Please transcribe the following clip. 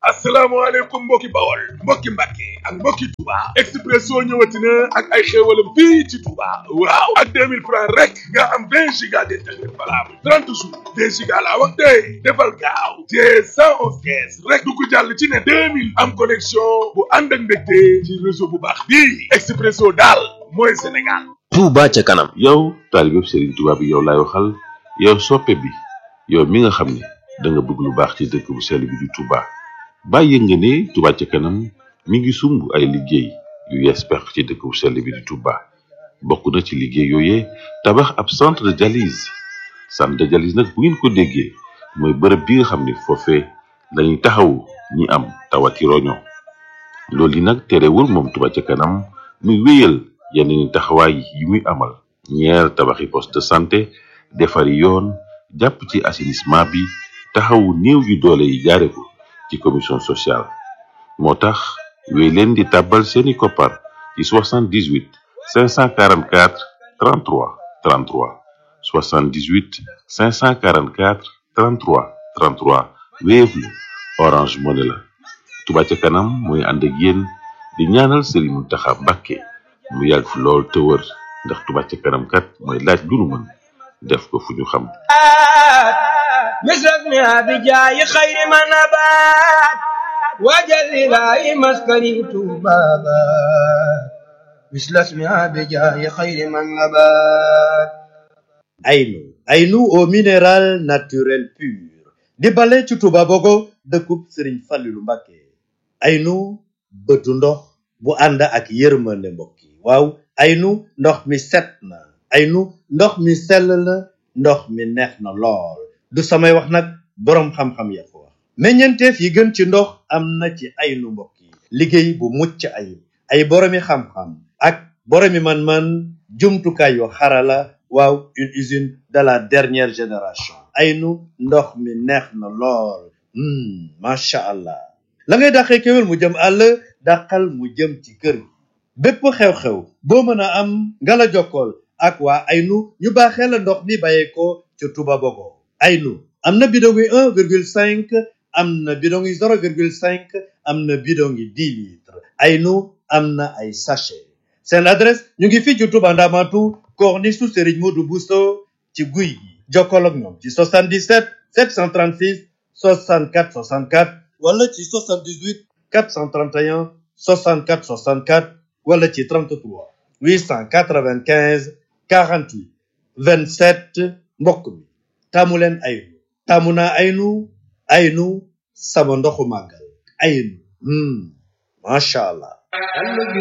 asalaamaaleykum mbokki Bawol mbokki Mbàkke ak mbokki Touba Expresso ñëwati na ak ay xéewalam fii ci Touba waaw ak 2000 francs rek nga am 20 giga d'internet valable 30 jours 2 giga laa wax tey defal gaaw te 111 kees rek du ko jàll ci ne 2000 am connexion bu ànd ak mbégte ci réseau bu baax bii Expresso daal mooy Sénégal. Touba ca kanam. yow taalibe Serigne Touba bi yow laay waxal yow soppe bi yow mi nga xam ne da nga bëgg lu baax ci dëkk bu sell bi di Touba. bàyyi nga ne Touba ca kanam mi ngi sumb ay liggéey yu yees pex ci dëkk bu sell bi di Touba bokk na ci liggéey yooyee tabax ab centre de dialyse nag bu ngeen ko déggee mooy bërëb bi nga xam ne foofee lañuy taxawu ñi am tawati roño loolu yi nag terewul moom Touba ca kanam muy wéyal yeneen taxawaay yi muy amal ñeer tabaxi poste de santé defari yoon jàpp ci assainissement bi taxawu néew yu doole yi jaare ko ci commission sociale moo tax wéy leen di tàbbal seeni koppar ci 78 544 33 33 78 544 33 33 Wave la Orange Money la Touba ca kanam mooy ànd ak yéen di ñaanal Serigne Mountakha Mbacké mu yàgg fi lool te wër ndax Touba ca kanam kat mooy laaj lu nu mën def ko fu ñu xam مثلنا بجاي خير من نبات وجل لا مسكني بابا مثل اسمها بجاي خير من نبات Aynu au minéral naturel pur di bale ci Touba Bogo dëkkub Serigne Fallilou Mbacké Aynu bëtu ndox bu ànd ak yërmande mbokk yi waaw Aynu ndox mi set na Aynu ndox mi sell na ndox mi neex na lool du samay wax nag boroom xam-xam ya ko wax meññeenteef yi gën ci ndox am na ci Aynu mbokk yi liggéey bu mucc ayib ay boroomi xam-xam ak boroomi man-man jumtukaay yu xarala waaw une usine de la dernière génération Aynu ndox mi neex na lool macha allah la ngay dàqee kéwél mu jëm àll dàqal mu jëm ci kër bépp xew-xew boo mën a am nga la jokkool ak waa Aynu ñu baaxee la ndox mi bàyyeekoo ca Touba Bogo Aynu am na bidon yi 1,5 am na bidon yi 0,5 am na bidon yi 10 litres Aynu am na ay sachet seen adresse ñu ngi fii ci Touba Ndamatu corniche su Serigne Modou Bousso ci guy gi jokkoo ak ñoom ci 77 736 64 64 wala ci 78 431 64 64 wala ci 33 895 48 27 mbokk mi taamu leen Aynu taamu naa Aynu sama ndoxu màggal Aynu macha allah